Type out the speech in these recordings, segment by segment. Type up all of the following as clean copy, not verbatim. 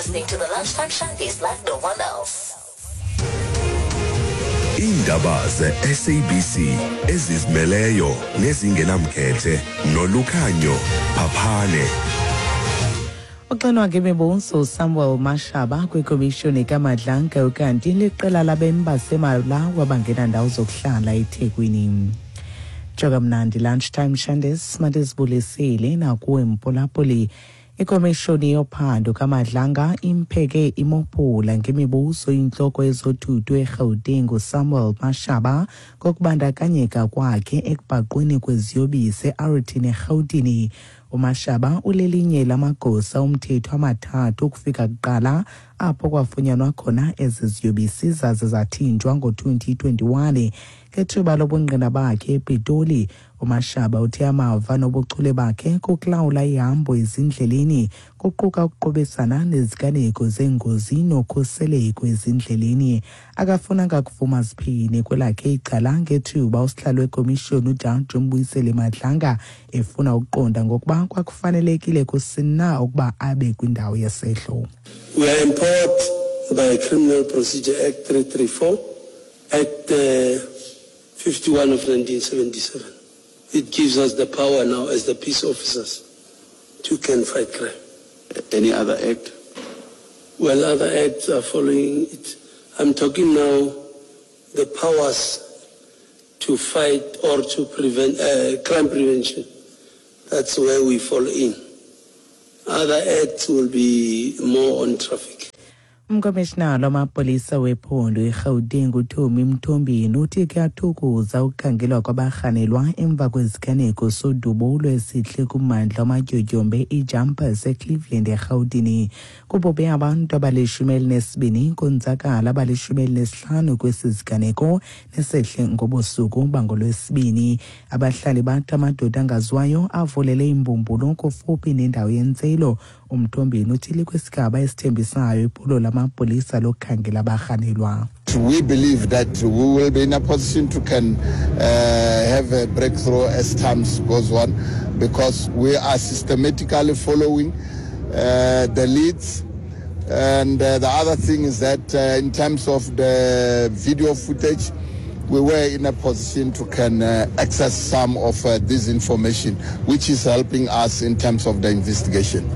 Listening to the Lunchtime Shandies like no one else. Iindaba ze-SABC ezizimeleyo nezingenamkhethe nolukhanyo phaphane. Uxinwa ngemibuzo Samuel Mashaba kwikomishoni kaMadlanga ukanti liqela labemi baseMalawi abangenandawo zokuhlala eThekwini. Joka mnandi Lunchtime Shandes mandizibulisile nakuwe Mpolapoli. Ikomishoni yophando kaMadlanga impheke imophula ngemibuzo intloko yezothutho eGauteng uSamuel Mashaba ngokubandakanyeka kwakhe ekubhaqweni kweziyobisi eArlington eRhawutini. UMashaba ulelinye lamagosa omthetho amathathu ukufika kuqala apho kwafunyanwa khona ezi ziyobisi zaze zathinjwa ngo-2021. Ngethuba lobungqina bakhe ePitoli, uMashaba uthe amava nobuchule bakhe kukulawula ihambo ezindleleni kuquka ukuqubisana neziganeko zeengozi nokhuseleko ezindleleni. Akafunanga kuvuma ziphini kwelakhe icala ngethuba usihlalo wekomishoni ujaji uMbuyiseli Madlanga efuna ukuqonda ngokuba kwakufanelekile kusini na ukuba abe kwindawo yesehlo. We are empowered by Criminal Procedure Act 334, Act 51 of 1977. It gives us the power now as the peace officers to can fight crime. Any other act? Well, other acts are following it. I'm talking now the powers to fight or to prevent crime prevention. That's where we fall in. Other acts will be more on traffic. Umkomishinala wamapolisa wephondo iRhawuteng uTommy Mthombeni uthi kuyathukuza ukukhangelwa kwabarhanelwa emva kweziganeko sodubulo esihle kummandla wamatyotyombe iJumpers eCleveland eRhawutini. Kubhubhe abantu abali-12 konzakala abali-15 kwesi siganeko nesehle ngobusuku bangolwesibini. Abahlali bathi amadoda angaziwayo avulele imbumbulu kufuphi nendawo yentselo. UMthombeni uthi likwisigaba esithembisayo iphulo lamapolisa lokukhangela abarhanelwa. We believe that we will be in a position to can have a breakthrough as time goes on, because we are systematically following the leads. And the other thing is that in terms of the video footage, we were in a position to can access some of this information, which is helping us in terms of the investigation.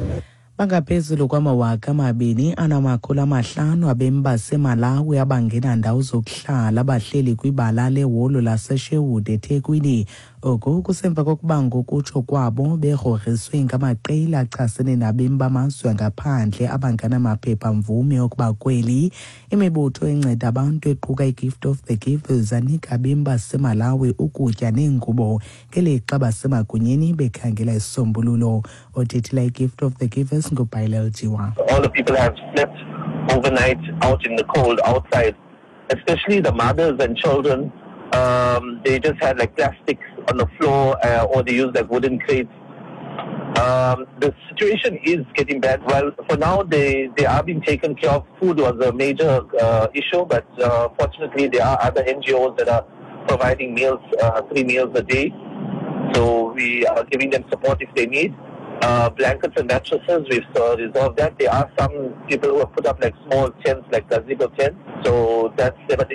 Bangaphezulu kwama-2500 abemi baseMalawi abangenandawo zokuhlala abahleli kwibala leholo laseSherwood eThekwini. Oku kusemva kokuba ngokutsho kwabo begrogriswe ngamaqela achasene nabemi bamazwe angaphandle abangenamaphepha mvume okuba kweli. Imibutho enceda abantu equka iGift of the Givers anika abemi baseMalawi ukutya neengubo ngelixa basemagunyeni bekhangela isisombululo. Othethela iGift of the Givers nguBhailel Jiwa. All the people have slept overnight out in the cold outside, especially the mothers and children. They just had plastics on the floor, or they used wooden crates. The situation is getting bad. Well, for now, they are being taken care of. Food was a major issue, but fortunately, there are other NGOs that are providing meals, 3 meals a day. So we are giving them support if they need. Blankets and mattresses, we've resolved that. There are some people who have put up small tents, like gazebo tents. So that's, but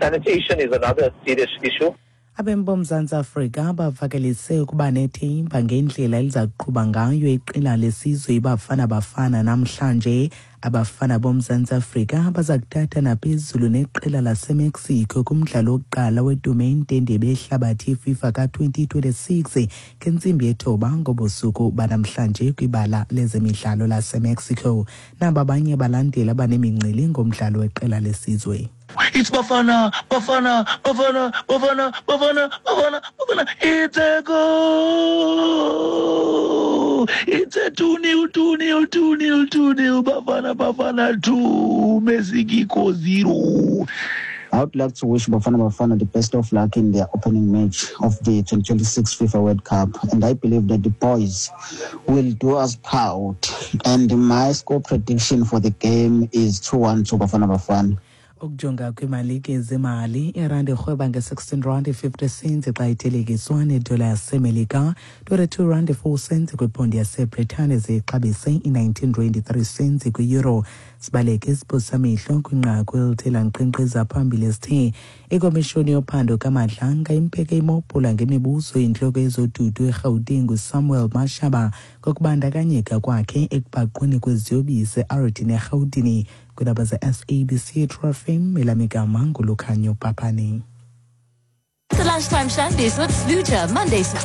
sanitation is another serious issue. Abemi boMzantsi Afrika bavakalise ukuba nethemba ngendlela eliza kuqhuba ngayo iqela lesizwe iBafana Bafana namhlanje. Abafana boMzantsi Afrika baza kuthatha naphezulu neqela laseMexico kumdlalo wokuqala wetumente yendebe yehlabathi yeFIFA ka-2026 ngentsimbi yethoba ngobusuku banamhlanje kwibala lezemidlalo laseMexico. Naba abanye abalandeli abanemincili ngomdlalo weqela lesizwe. It's Bafana, Bafana, Bafana, Bafana, Bafana, Bafana, Bafana. It's a goal! It's a two nil, two nil, two nil, two nil. Bafana, Bafana 2, Mexico 0. I would like to wish Bafana Bafana the best of luck in their opening match of the 2026 FIFA World Cup. And I believe that the boys will do us proud. And my score prediction for the game is 2-1 to Bafana Bafana. Ukujonga kwiimalike zemali, irandi irhweba nge-16 rand 50 cents xa ithelekiswa nedola yaseMelika, 22 rand 4 cents kwiponti yaseBritane, ziyixabise i-19 rand 3 cents kwi-euro. Sibaleke isiphosamehlo kwinqaku elithe lankqenkqeza phambili esithe ikomishoni yophando kaMadlanga impeke imopula ngemibuzo intloko yezodudu eRhawutini nguSamuel Mashaba ngokubandakanyeka kwakhe ekubhaqweni kweziyobisi eArdene eRhawutini. Kwiindaba ze-SABC True FM, elamigama nguLukhanyo Papane. The Lunchtime Shandies with Sluter, Mondays to Fridays.